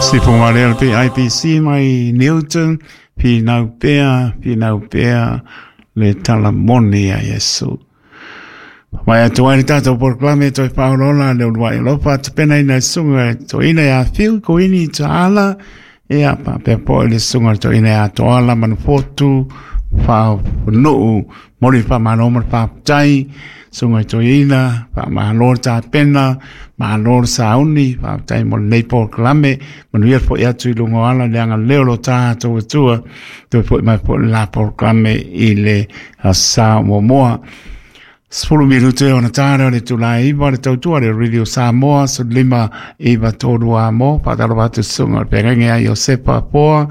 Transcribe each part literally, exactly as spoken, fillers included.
Sipo Marel P I P C mai Newton, Pinau Pea, Pinau Pea, le talamoni a Yesu. Mai atu ai le tātou polokalame toe paolola le uluai alofa tapena ina sunga toina ia Phil Koini Taala ia papea po le sunga toina ia Toala Manufotu Whaonuu mori whamalo ma whaptai sunga toina whamalo tapena malo sauni whaptai mo nei polokalame manuia fo atu i lunga ala le anga leo lo tātou atua toe foi mai po la polokalame i le sa momoa. Sefulu minute ona tāra le tūlai iwa le tautua le Radio Samoa so lima iwa tōru a mō pātaro atu sunga o pengenge a Iosepa Poa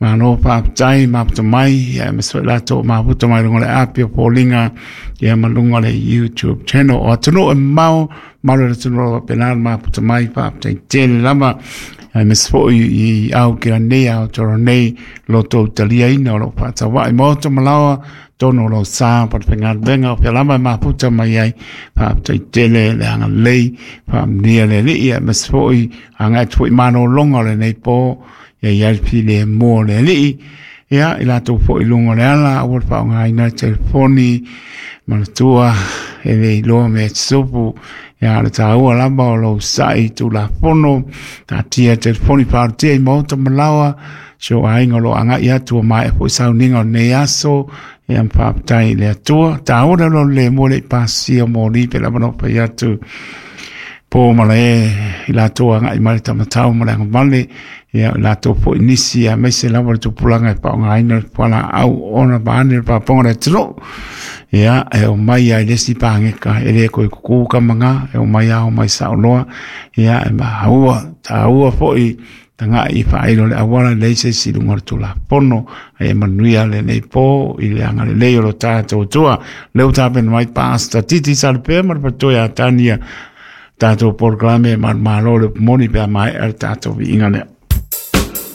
malo whaptai maputa mai ia me soi lato maputa mai runga le api o Pōlinga ia ma lunga le YouTube channel o atunu e mau malo le tunu o penal maputa mai whaptai tele lama ai me soi i au ki nei au toro nei loto utalia ina o lo whātawai moto malawa tono lo sa pa te penga o pelama maputa mai ai whaptai tele le anga lei whamnia le li ia me soi anga tui mano longa le nei po ia ia pile mo le li ia i lato fo i lunga le ala o wha ngai na telefoni manatua e le loa me tsupu ia le tāua lamba o lo sai tu la fono tā tia telefoni pārutia i maota malawa so ainga lo anga ia tua mai e po sauninga o nei aso ia mpaptai le atua tāua lo le mo le pasia mo li pe lama no pa atu po mala e i lato anga i mare tamatau mala anga male ia lato po nisi ia mese lava le tupulanga e paonga aina le pala au ona paane le paponga le tino ia e o mai ai lesi pāngeka e le koe kuku kamanga e o mai au mai saoloa ia e mahaua tāua foi tanga i whailo le awala le se si lunga le tula pono e manuia le nei po i le anga le lei o lo tātou tua leo tāpen mai pāsta titi salpea ma le patoia tania tātou polokalame ma malo le moni pea mai ar tātou viinga lea.